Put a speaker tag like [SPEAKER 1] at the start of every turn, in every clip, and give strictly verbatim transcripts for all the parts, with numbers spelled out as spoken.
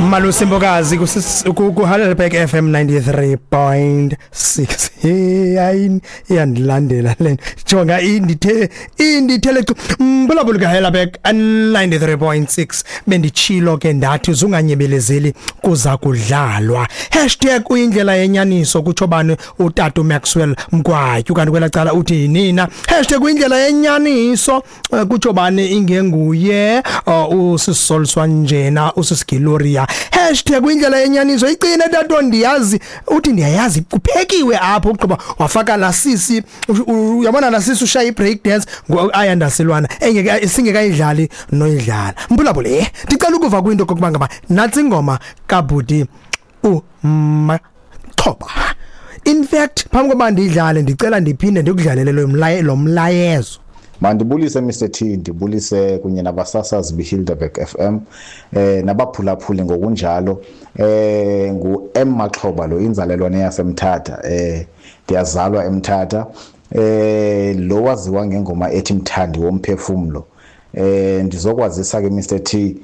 [SPEAKER 1] Malusi Mbokazi ku Heidelberg F M ninety-three point six. Hey, hayi iyandilandela le. Jonga indithe indithele mbulabula ka Heidelberg ninety-three point six. Bendichilo ke ndathi uzunganyebelezeli kuza kudlalwa. Hashtag uyindlela yenyaniso kutsho bani utata Maxwell Mkwatyu kanti kwela cala uthi nina. Hashtag uyindlela yenyaniso kutsho bani ingenguye usisoliswa njena usisigiloria. Hashtag uyindlela yenyaniso icine tato ndiyazi uthi ndiyayazi kuphekiwe apho ugqiba wafaka la sisi uyabona la sisi ushaya ibreak dance ayandaselwana engeke singekayidlali noyidlala mbulabule ndicela ukuva kwinto kokuba ngaba natsi ingoma kaBudi uMaxhoba. In fact phambi kokuba ndidlale ndicela ndiphinde ndikudlalele lo mlayezo.
[SPEAKER 2] Mandibulise Mister T, ndibulise kunye nabasasazi beHilderberg F M eh nabaphulaphuli ngokunjalo. Eh ngu M Maxhoba lo, inzalelwane yaseMthatha, eh ndiyazalwa eMthatha. Eh lo waziwa ngengoma ethi Mthandi womphefumlo. Eh ndizokwazisa ke Mister T,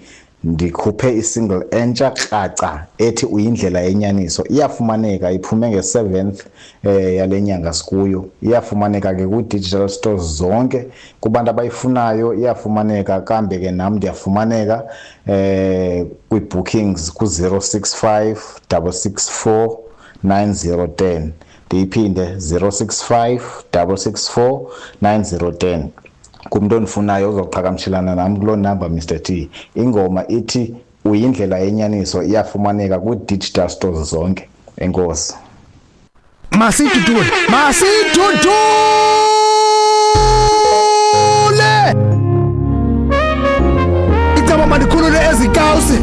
[SPEAKER 2] ndikhuphe isingle entsha kraca ethi uyindlela yenyaniso. Iyafumaneka, iphume nge-seventh eh yalenyanga sikuyo. Iyafumaneka ke ku digital stores zonke kubantu abayifunayo, iyafumaneka kambe ke nami ndiyafumaneka eh kwi bookings ku zero six five six six four nine zero ten. Ndiyiphinde zero six five six six four nine zero ten. Kumuntu onifunayo uzoqhagamshelana nami kuloo number Mister T. Ingoma ithi uyindlela yenyaniso iyafumaneka ku digital stores zonke. Enkosi.
[SPEAKER 1] Masitudule, masitudule. Icaba mandikhulule ezikawusi.